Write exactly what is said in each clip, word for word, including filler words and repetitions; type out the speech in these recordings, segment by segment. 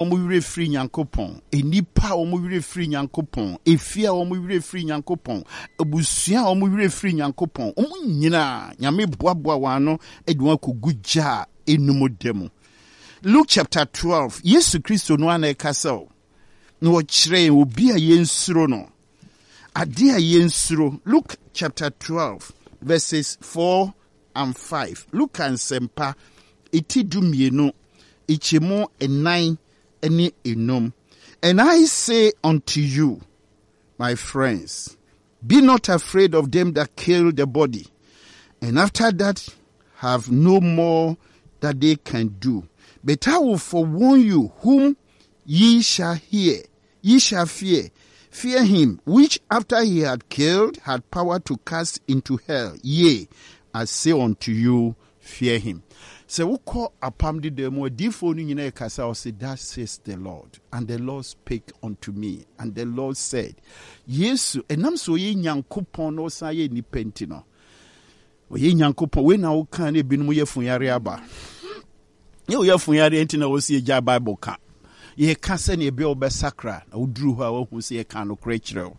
Wɔn werɛ firi Nyankopɔn, nnipa a wɔn werɛ firi Nyankopɔn, efie a wɔn werɛ firi Nyankopɔn, abusua a wɔn werɛ firi Nyankopɔn, wɔn nyinaa Nyame boaboa wɔn ano de wɔn akɔgu gya a enum da mu. Luke chapter twelve, Yesu Kristo no ara na ɛkasa o, na ɔkyerɛ yɛn obi a yɛnsuro no, adeɛ a yɛnsuro. Luke chapter twelve verses four and five. Luka Nsɛmpa, eti du mmienu, nkyɛmu nnan ne enum. And I say unto you, my friends, be not afraid of them that kill the body, and after that have no more that they can do. But I will forewarn you whom ye shall hear, ye shall fear. Fear him which after he had killed had power to cast into hell. Yea, I say unto you, fear him. Sɛ wokɔ Apam Deda mu, adiifoɔ no nyinaa ɛkasa, ɔse, "That says the Lord, and the Lord spake unto me, and the Lord said." Yesu, ɛnam sɛ ɔyɛ Nyankopɔn na ɔsan yɛ nipa nti no, ɔyɛ Nyankopɔn. Wei na woka ne ebinom yɛ funyare aba. Nyɛ woyɛ funyare nti na wɔsi agya Bible ka. Yɛka sɛnea ebi a wobɛsakra na woduru hɔ a woahu sɛ yɛka nokorɛ kyerɛ wo.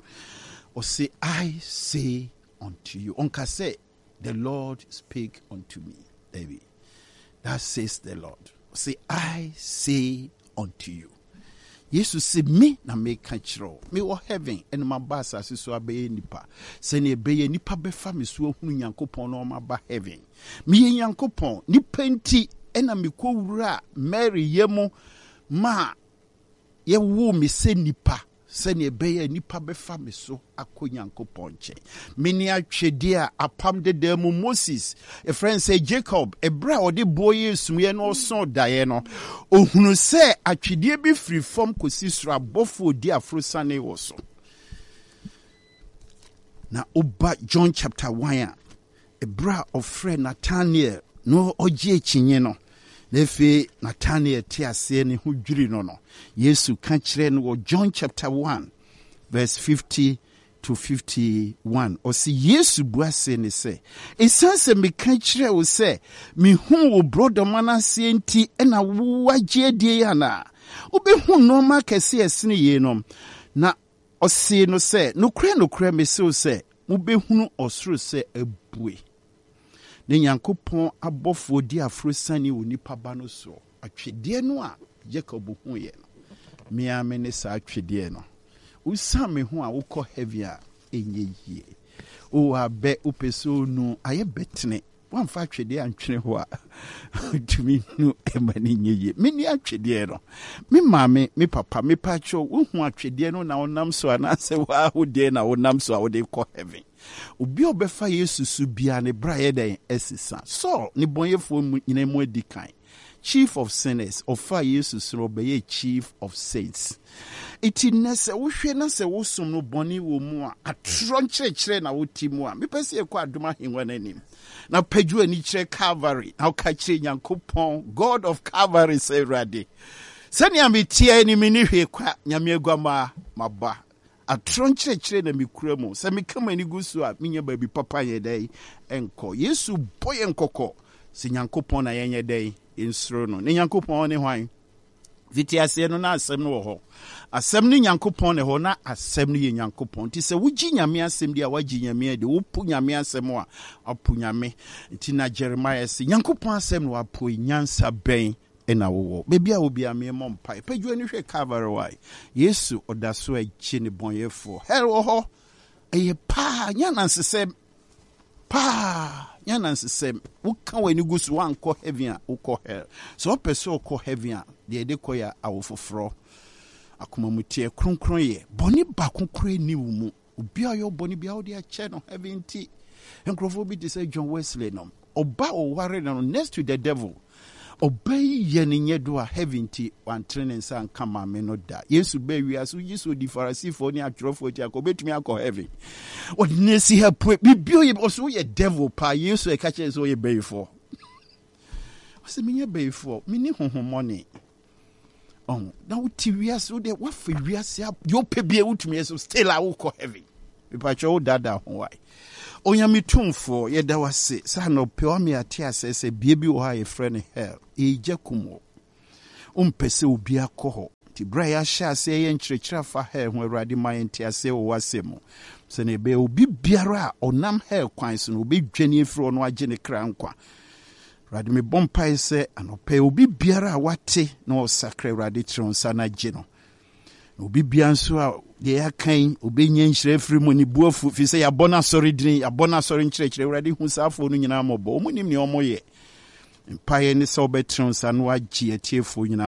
Ɔse, "I say unto you." Ɔnka sɛ, "The Lord spake unto me." Dabi. "That says the Lord." Ɔse, "I say unto you." Yesu se, me na meka kyerɛ wo. Mewɔ heaven ɛna maba asase so abɛyɛ nipa. Sɛnea ɛbɛyɛ nipa bɛfa me so ahunu Nyankopɔn na ɔma heaven. Meyɛ Nyankopɔn. Nipa nti ɛna mekɔwura Mary yɛ mu ma yɛwoo me sɛ nipa, sɛnea ɛbɛyɛ nipa bɛfa me so akɔ Nyankopɔn nkyɛn. Mene atwedeɛ a Apam Deda mu Moses, ɛfrɛ no sɛ Jacob, ɛberɛ a ɔde boɔ yɛ sumiɛ na ɔsɔn daeɛ no, ohunu sɛ atwedeɛ bi firi fam kɔsi soro, abɔfoɔ di aforosane wɔ so. Na woba John chapter one a, ɛberɛ a ɔfrɛ Nathaniel na ɔgye akyinye no, na afei Nathaniel te aseɛ ne ho dwiri no no Yesu ka kyerɛ no wɔ John chapter one verse fifty to fifty-one, ɔsi Yesu bua se ne sɛ, "Ɛsiane sɛ meka kyerɛ wo sɛ mehu wo borɔdɔma no aseɛ nti ɛna woagye adie yi anaa? Wobɛhu nneɛma kɛse a ɛsene yeinom." Na ɔsee no sɛ, "Nokorɛ, nokorɛ, mese wo sɛ mobɛhunu ɔsoro sɛ abue ne Nyankopɔn abɔfoɔ di aforosane wɔ nipa ba no soɔ." Atwedeɛ no a Jacob huiɛ no, mea me ne saa atwedeɛ no. Wosan me ho a wokɔ heaven a ɛnyɛ yie. Wowɔ abɛ, wopɛ sɛ onu ayɛ bɛtene, woamfa atwedeɛ antwene hɔ a, tumi nu ɛma no nyɛ yie. Mene atwedeɛ no. Me maame, me papa, mepa kyɛw, wohu atwedeɛ no na wonam so anaasɛ woahodeɛ na wonam so a wode kɔ heaven? Obi a ɔbɛfa Yesu so biara ne bra yɛ dɛn? Ɛsesa. Saul ne bɔnyɛfoɔ mu nyinaa mu adi kan, chief of sinners, ɔfa Yesu so no, ɔbɛyɛ chief of saints. Eti nnɛ sɛ wohwɛ na sɛ wosom no bɔne wɔ mu a, atorɔ nkyerɛkyerɛ na wote mu a, mepɛ sɛ yɛkɔ adom ahengua no anim na pagyo ani kyerɛ Calvary na woka kyerɛ Nyankopɔn, God of Calvary, sɛ, "Awurade, sɛnea meteɛ ni, me ne hwee kwa. Nyame aguamaa maba, atorɔ nkyerɛkyerɛ na mekura mu. Sɛ meka m'ani gu so a, menya baabi papa yɛ dɛn nkɔ?" Yesu bɔ yɛn kɔkɔ sɛ Nyankopɔn na yɛnyɛ dɛn? Yɛnsuro no. Ne Nyankopɔn ne hwan? Fiti aseɛ no na asɛm no wɔ hɔ, asɛm no Nyankopɔn na ɛhɔ, na asɛm no yɛ Nyankopɔn. Nti sɛ wogye Nyame asɛm di a, woagye Nyame adi. Wopo Nyame asɛm a, apo Nyame. Nti na Jeremiah sɛ Nyankopɔn asɛm na wapo. Nyansa bɛn ɛna wowɔ? Baabi a obi ameɛmɔ mpae, pagyo ani hwɛ Calvary. Wae Yesu ɔda so agye ne bɔnyɛfoɔ. Hell wɔ hɔ, ɛyɛ paa, nyɛ anansesɛm paa, nyɛ anansesɛm. Woka w'ani gu so, woankɔ heaven a, wokɔ hell. Sɛ wopɛ sɛ wokɔ heaven a, deɛ ɛde kɔ yɛ awo foforɔ, akomamuteɛ kronkron, yɛ bɔne baako koraa ni wo mu. Obi a ɔyɛ bɔne biara, wode akyɛ no. Heaven nti nkurɔfoɔ bi te sɛ John Wesley nom, ɔba ɔware no next to the devil, ɔba yi yɛ ne nyɛ do a, heaven nti wantene ne nsa nka maame no da. Yesu bɛɛ wiase, wogye sɛ ɔdi Farisifoɔ ne atwerɛfoɔ akyi akɔ, obɛtumi akɔ heaven? Ɔde ne asi ha pue biribi ɔyɛ, ɔsɛ woyɛ devil paa. Yesu ɛka kyerɛ sɛ ɔyɛ bɛyifoɔ, ɔsɛ menyɛ bɛyifoɔ, menni honhommɔne. Ɔho na wote wiase, wo deɛ woafa wiase, deɛ wopɛ bia wotumi yɛ so, still a wokɔ heaven. Mepakyɛ wo daadaa ho wae. Onyame tumfoɔ, yɛda wo ase sɛ anɔpɛ wame ate asɛ sɛ bea bi wɔ hɔ a yɛfrɛ no hell, ɛgya kum wɔ. Wompɛ sɛ obi akɔ hɔ. Nti berɛ a yɛahyɛ aseɛ yɛ nkyerɛkyerɛ afa hell ho, Awurade ma yɛnte aseɛ wɔ w'asɛm mu. Sɛnea ɛbɛyɛ obi biara a ɔnam hell kwan so no, obɛdwane afiri hɔ no agye ne kra nkwa. Awurade, mebɔ mpae sɛ anɔpɛ obi biara a wate na ɔsakra, Awurade kyerɛ wo nsa no agye no. Na obi biara nso a deɛ yɛaka yi, obɛnya nhyira afiri mu, ne bu afu, firi sɛ yɛabɔ no asɔre dini, yɛabɔ no asɔre nkyerɛkyerɛ. Awurade, hu saa afoɔ no nyinaa mmɔbɔ. Ɔmo nim nea ɔmo yɛ. Mpaeɛ ne sɛ wobɛtene wo nsa na woagye atiefoɔ nyinaa.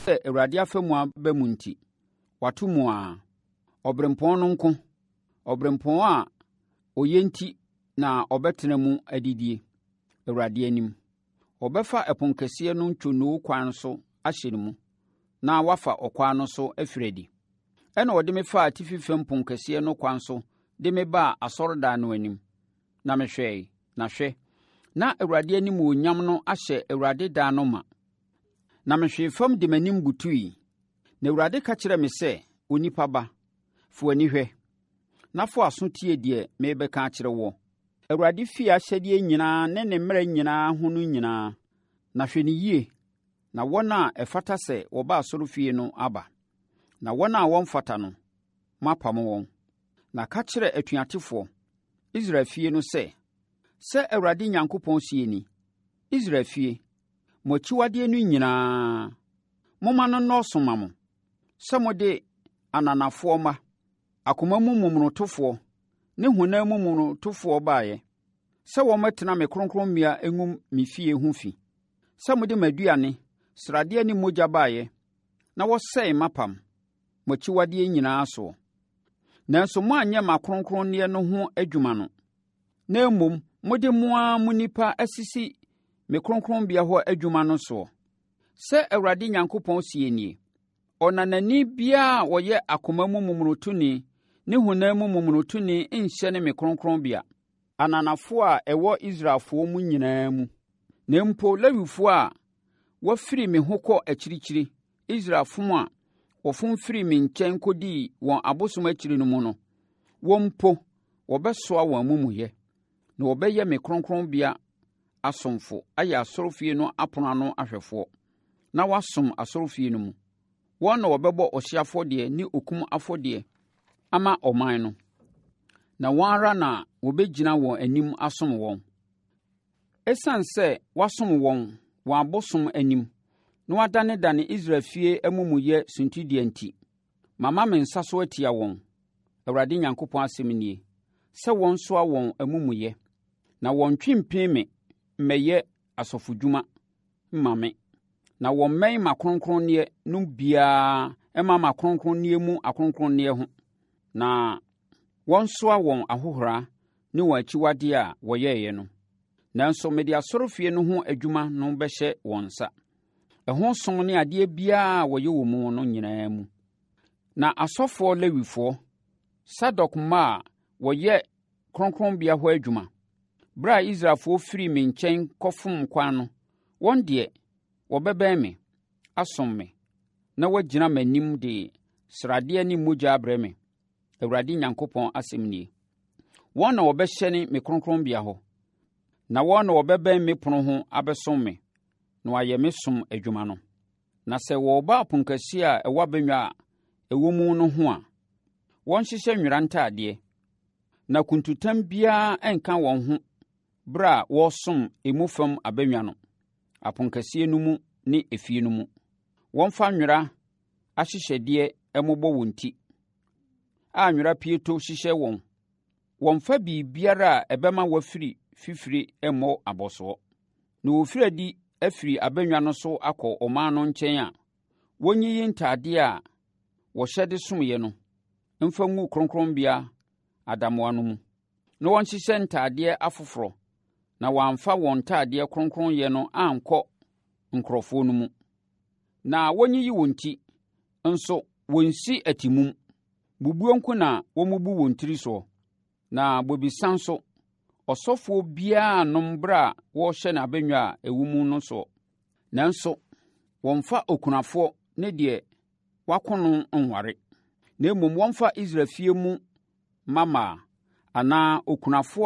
Sɛ Awurade afa mu aba mu nti, wato mu ara. Ɔberempɔn no nko, ɔberempɔn a ɔyɛ nti na ɔbɛtena mu adidie, Awurade anim. Ɔbɛfa ɛpono no ntwonoo kwan so ahyɛ ne mu, na wafa ɔkwan no so afiri adi. Ɛna ɔde me faa atifi fam ponkɛseɛ no kwan so de me baa asɔredan no anim. Na mehwɛe, na hwɛ, na Awurade animuonyam no ahyɛ Awurade dan no ma. Na mehwee fam de m'anim butui. Na Awurade ka kyerɛɛ me sɛ, Onipa ba, fa w'ani hwɛ, na fa w'aso tie deɛ merebɛka akyerɛ woɔ. Awurade fie ahyɛdeɛ nyinaa ne ne mmara nyinaa ho no nyinaa, na hwɛ no yie, na wɔn a ɛfata sɛ wɔba asɔrefie no aba, na wɔn a wɔmfata no, moapam wɔn. Na ka kyerɛ atuatefoɔ, Israel fie no sɛ, sɛ Awurade Nyankopɔn seɛ ni, Israel fie, mo akyiwadeɛ no nyinaa, momma no nnɔɔso mma mo, sɛ mode ananafoɔ mma, akoma mu momonotofoɔ ne honam mu momonotofoɔ baeɛ, sɛ wɔmmɛtena me kronkronbea ngu me fie ho fi, sɛ mode m'aduane, sradeɛ ne mogya baeɛ, na wɔsɛe m'apam, mo akyiwadeɛ nyinaa soɔ. Nanso moanyɛ m'akronkronneɛ no ho adwuma no, na mmom mode mo ara mo nnipa asisi me kronkronbea hɔ adwuma no soɔ. Sɛ Awurade Nyankopɔn seɛ nie, ɔnanani biara a ɔyɛ akoma mu momonotoni ne honam mu momonotoni nhyɛne me kronkronbea, ananafoɔ a ɛwɔ Israelfoɔ mu nyinaa mu. Na mpo Lewifoɔ a wɔafiri me ho kɔ akyirikyiri, Israel fom a wɔfom firii me nkyɛn kɔdii wɔn abosom akyiri no mu no, wɔn mpo wɔbɛsoa wɔn amumuyɛ, na wɔbɛyɛ me kronkronbea asomfo ayɛ asɔrefie no apono ano ahwɛfoɔ, na wɔasom asɔrefie no mu. Wɔn na wɔbɛbɔ ɔhyeɛ afɔdeɛ ne okum afɔdeɛ ama ɔman no, na wɔn ara na wɔbɛgyina wɔn anim asom wɔn. Esiane sɛ wɔasom wɔn wɔn abosom anim na wɔadanedane Israel fie amumuyɛ suntidua nti, mama me nsa so atia wɔn, Awurade Nyankopɔn asɛm nie, sɛ wɔnsoa wɔn amumuyɛ, na wɔntwe mpini me mmɛyɛ asɔfodwuma mma me, na wɔmmɛn m'akronkronneɛ no biara mma m'akronkronneɛ mu akronkronneɛ ho, na wɔnsoa wɔn ahohora ne wɔn akyiwadeɛ a wɔyɛeɛ no. Nanso mede asɔrefie no ho adwuma no bɛhyɛ wɔn nsa, ɛho som ne adeɛ biara a wɔyɛ wɔ mu no nyinaa mu. Na asɔfoɔ Lewifoɔ, Sadok mma a wɔyɛ kronkronbea hɔ adwuma, berɛ a Israelfoɔ firii me nkyɛn kɔfom kwan no, wɔn deɛ, wɔbɛbɛn me, asom me, na wɔagyina m'anim de sradeɛ ne mogya abrɛ me, Awurade Nyankopɔn asɛm nie. Wɔn na wɔbɛhyɛne me kronkronbea hɔ, na wɔn na wɔbɛbɛn me pono ho abɛsom me, na wɔayɛ me som adwuma no. Na sɛ wɔreba aponkɛseɛ a ɛwɔ abannwa a ɛwɔ mu no ho a, wɔnhyehyɛ nwera ntadeɛ, na kuntutam biara nka wɔn ho berɛ a wɔresom emu fam abannwa no, aponkɛseɛ no mu ne efie no mu. Wɔmfa nwera ahyehyɛdeɛ mmobɔ wɔn ti, a nwera pieto hyehyɛ wɔn. Wɔmfa biribiara a ɛbɛma wɔafiri fifire mmɔ abɔsoɔ. Na wɔfiri adi afiri abannwa no so akɔ ɔman no nkyɛn a, wɔnyiyi ntadeɛ a wɔhyɛ de somyɛ no mfa ngu kronkronbea adamoa no mu, na wɔnhyehyɛ ntadeɛ afoforɔ, na wɔamfa wɔn ntadeɛ kronkronyɛ no ankɔ nkurɔfoɔ no mu. Na wɔnyiyi wɔn ti, nso wɔnsi atimum. Bubuo nko na wɔmmubu wɔn tiri soɔ. Na bobesa nso, ɔsɔfoɔ biara nnom berɛ a wɔrehyɛ n'abannwa a ɛwɔ mu no soɔ. Nanso, wɔmfa okunafoɔ ne deɛ wako no nware, na mmom wɔmfa Israel fie mu mmammaa anaa okunafoɔ